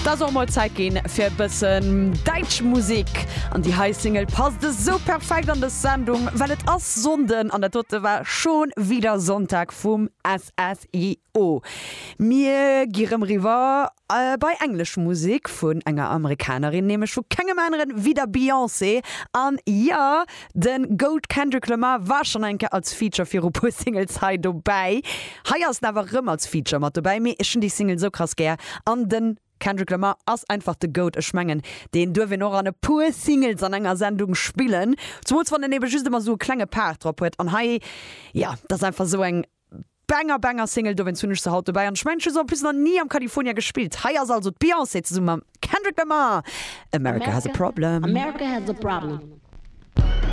Et ass och mol Zäit ginn fir e bëssen däitsch Musek. An déi hei Single passt esou perfekt an dës Sendung, well et ass Sonnden an dat dote war Schon wieder Sonntag vum SSIO. Mir gi rëm riwwer bei englesch Musek vun enger Amerikanerin, nämlech vu kengem aneren wéi der Beyoncé. An jo, De Goat Kendrick Lamar war schonn eng Kéier als Feature viru puer Singles hei dobäi. Hei ass en awer rëm als Feature mat dobäi, mee ech hunn déi Single sou krass gär an de Kendrick Lamar ass einfach de Goat. Ech mengen deen duerf een och an e puer Singles an enger Sendung spillen, zumools wann en ebe just ëmmer sou e klenge Part drop huet. An hei, jo, dat ass einfach sou eng Banger Banger Single, dowéinst hunn ech se haut dobäi an ech mengen ech hu se en plus nach ni am California gespillt. Hei ass also d'Beyoncé zesumme mam Kendrick Lamar, America Has a Problem. America has a problem.